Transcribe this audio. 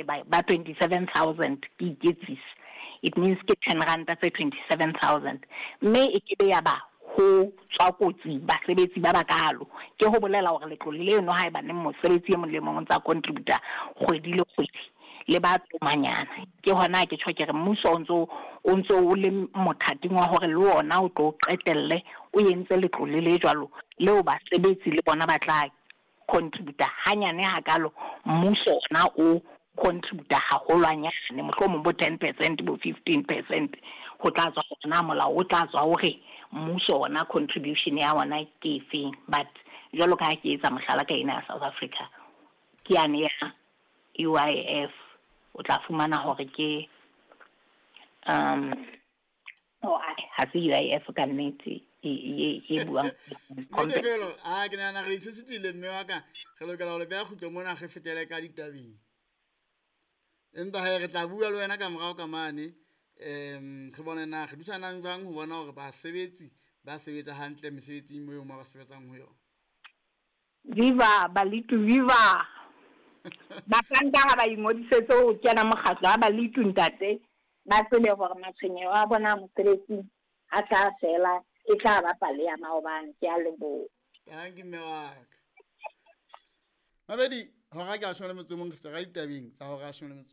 haeba ba 27,000 ke iketsisa, it means ke ten ranta tse 27,000. Mme e ke be ya ba ho tswa kotsi basebetsi ba bakalo. Ke ho bolela hore letlole leno haebaneng mosebetsi e mong le mong o ntsa contributa kgwedi le kgwedi, le ba tomanyana. Ke hona ke tjho ke re mmuso o ntso o ntso o le mothating wa hore le ona o tlo qetelle o entse letlole le jwalo leo basebetsi le bona ba tla contributa hanyane hakalo, mmuso ona o contributa haholwanyane, mohlomong bo 10%, bo 15%, ho tla tswa hore na molao o tla tswa o re mmuso ona contribution ya ona ke efeng. But jwalo ka ha ke etsa mohlala ka ena ya South Africa, ke yane ya UIF, o tla fumana hore ke oh, ha se UIF ka nnete e buang. Nnete felo a ke nahana re itshesitile mme wa ka, re lokela ho le beha kgutlo mona, re fetele ka ditabeng. Empa he re tla bua le wena ka morao ka mane, re bone na re thusanang jwang ho bona hore basebetsi ba sebetsa hantle mesebetsing moo mo ba sebetsang ho yona. Viva Balitu, viva! Bahlanka ha ba ingodisetse ho kena mokgatlo wa Balitu ntate, ba tsebe hore matshwenyeho a bona a mosebetsing a tla fela, e tla ba pale ya maobane. Ke a leboha. Tanki mme wa ka. Mabedi, hora ke a 18, re feta ka ditabeng tsa hora ya 11.